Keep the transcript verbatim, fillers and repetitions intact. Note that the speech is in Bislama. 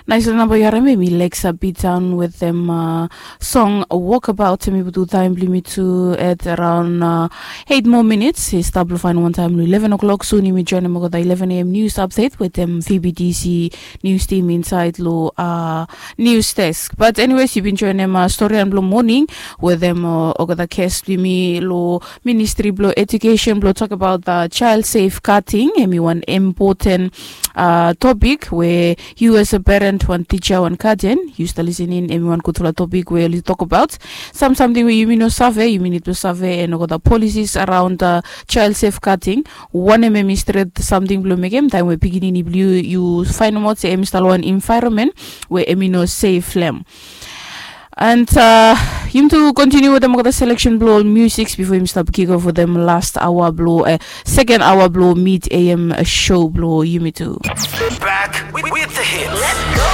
Nais long namba yu harim em i Lexa Beatdown wetem song Walkabout. Em i putum taem blong yumi tu at around eight more minutes. I stap long fain wantaem long eleven o'clock. Sun yumi joinim olgeta eleven a.m. news update wetem V B T C news team insaed long news desk. But anyways, yu bin joinim storian blong moning wetem olgeta kes blong yumi long ministri blong education blong tokbaot child safeguarding. Em i wan impoten topik we yu as a parent, wan tija, wan gajen, yu stap lisin in. Em i wan gudfala topik we oli tokbaot sam samting we yumi no save, yumi nid blong save, and olgeta policies araon child safeguarding. Wanem em i stret samting blong mekem taem we pikinini blong yu yu faenemaot se em i stap long wan envaeronmen we em i no sef long em. And yumi tu kontiniu wetem olgeta seleksen blong ol musiks bifo yumi stap kik of wetem last aoa blong seken aoa blong mid am show blong yumi tu. Back with, with the hits.